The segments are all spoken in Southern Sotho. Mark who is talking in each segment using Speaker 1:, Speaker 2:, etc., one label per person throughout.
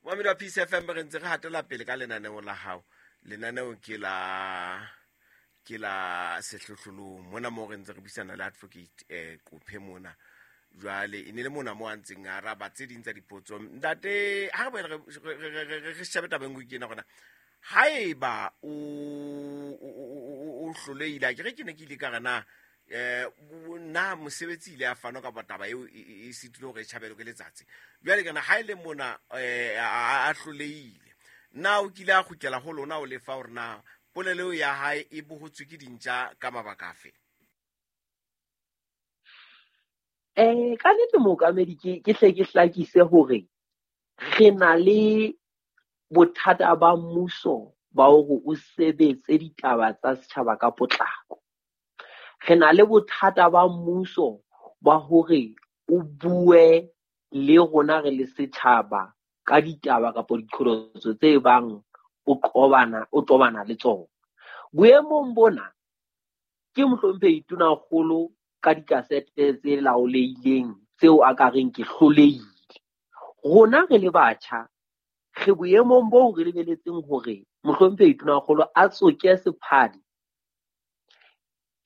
Speaker 1: Momamedi wa Peace FM, re ntse re hatela pele ka lenaneo la hao. Lenaneo ke la Sehlohlolong mona moo re ntse re buisana le Advocate Qophe mona. Jwale e ne le mona mo a ntseng a araba tse ding tsa dipotso. Ntate, ha re boele re shebe taba e nngwe ke ena gona. Haeba o hlolehile, a ke re ke ne ke ile ka re na na mosebetsi ile a fanwa kapa taba eo e sitile hore e tjhabelwe ke letsatsi. Jwale kana ha e le mona a hlolehile, na o kile a kgutlela ho lona o lefa hore na polelo eo ya hae e bohotswe ke dintja ka mabaka afe?
Speaker 2: Ka nnete, mookamedi, ke hle ke hlakise hore re na le bothata ba mmuso ba hore o sebetse ditaba tsa setjhaba ka potlako. Re na le bothata ba mmuso ba hore o bue le rona re le setjhaba ka ditaba kapa diqholotso tse bang o qobana le tsona. Boemong bona ke mohlomphehi Tonakgolo ka dikasete tse laolehileng tseo a ka reng ke hlolehile. Rona re le batjha re boemong boo re lebeletseng hore mohlomphehi Tonakgolo a tsoke sephadi.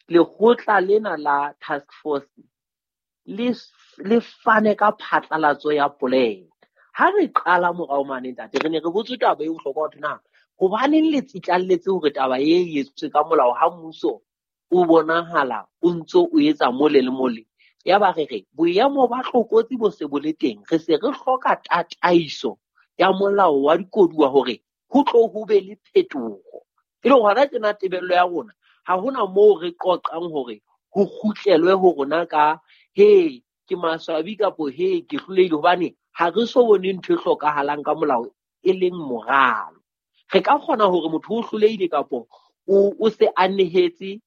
Speaker 2: Lekgotla lena la task force le fane ka phatlalatso ya polelo. Ha re qala morao mane, ntate, re ne re botswe taba e bohlokwa hore na hobaneng le tsitlalletse hore taba e etswe ka molao ha mmuso o bonahala o ntso o etsa mole le mole. Yaba re re boemo ba tlokotsi bo se bo le teng, re se re hloka tataiso ya molao wa dikoduwa hore ho tlo ho be le phetoho. E le hona tjena tebello ya rona ha hona moo re qoqang hore ho kgutlelwe ho rona ka he ke maswabi kapo he ke hlolehile, hobane ha re so bone ntho e hlokahalang ka molao e leng moralo. Re ka kgona hore motho o hlolehile kapo o se a nehetse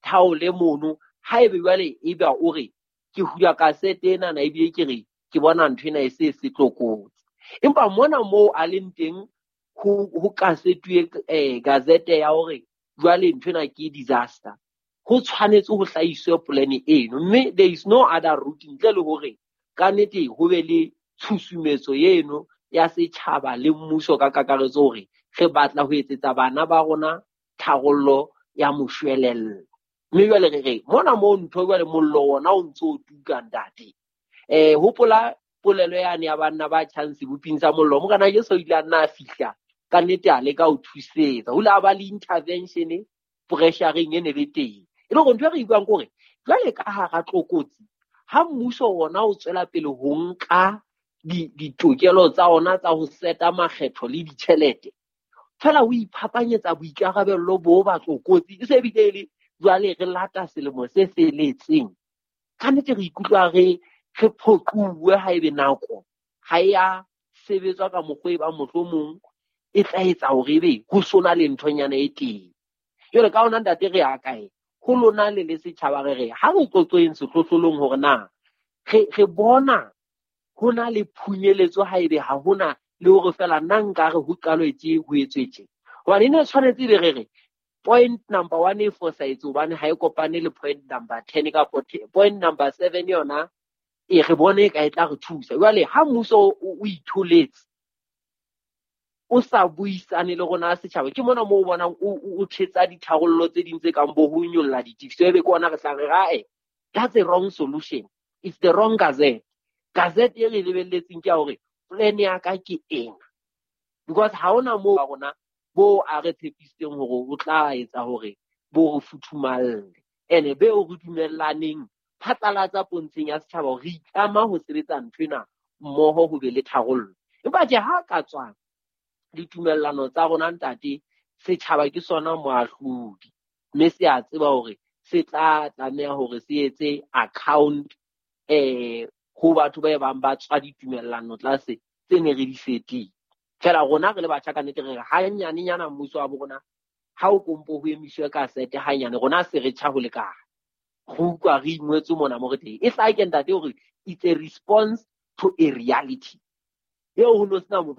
Speaker 2: thaole mono, haebe jwale ebe o re ke hula kasete enana ebile ke re ke bona ntho ena e se se tlokotsi. Empa mona moo a leng teng ho kasetuwe gazette ya hore jwale ntho ena ke disaster, ho tshwanetse ho hlahiswe plan eno, mme there is no other route ntle le hore ka nnete ho be le tshusumetso eno ya setjhaba le mmuso ka kakaretso hore re batla ho etsetsa bana ba rona tharollo ya moshwelella. Mme jwale re re mona moo ntho jwale mollo wona o ntso o tuka, ntate. Hopola polelo yane ya banna ba tjhang seboping sa mollo. Morena Jesu o ile a nna a fihla ka nnete a leka ho thusetsa. Ho ile a ba le intervention pressure-eng e ne le teng. E le hore ntho e re e buang ke hore jwale ka hara tlokotsi ha mmuso wona o tswela pele ho nka ditokelo tsa ona tsa ho seta makgetho le ditjhelete, fela o iphapanyetsa boikarabello bo ba tlokotsi, e se bile e le jwale re lata selemo se felletseng. Ka nnete re ikutlwa re phoquwe haebe nako ha e ya sebetswa ka mokgwa e bang mohlomong e tla etsa hore ebe ho sona le nthonyana e teng. Jwale ka hona, ntate, re ya kae? Ho lona le le setjhaba re re ha re qoqeng sehlohlolong hore na re bona ho na le phunyeletso haebe ha hona le hore fela nna nka re ho qalwe tje ho etswe tje. Hobane e ne tshwanetse ebe re re point number 1 e fosahetse hobane ha e kopane le point number 10 kapa point number 7 yona e re bone e ka e tla re thusa. Jwale ha mmuso o itholetse o sa buisane le rona setjhaba, ke mona moo o bonang o thetsa ditharollo tse ding tse kang bo ho nyolla ditefiso, ebe ke ona re tla re ae, that's a wrong solution, it's the wrong gazette. Gazette e re lebelletseng ke ya hore plan ya ka ke ena, because ha hona moo ba rona bo a re tshepisitseng hore o tla etsa hore bo re futhumalle, ene be o re dumellaneng phatlalatsa pontsheng ya setjhaba hore re itlama ho sebetsa nthwena mmoho ho be le tharollo. Empa tje ha ka tswa ditumellano tsa rona, ntate, setjhaba ke sona moahlodi, mme se a tseba hore se tla tlameha hore se etse account ho batho ba bang ba tswa ditumellano tlase tse ne re di fetile. Fela rona re le batjha ka nnete re re hanyanenyana mmuso wa bo rona ha o kompo ho emiswe ka sete hanyane, rona se re tjha ho lekana. Re utlwa re ingwetswe mona mo re teng. E hlake, ntate, hore it's a response to a reality. Eo ho no sena motho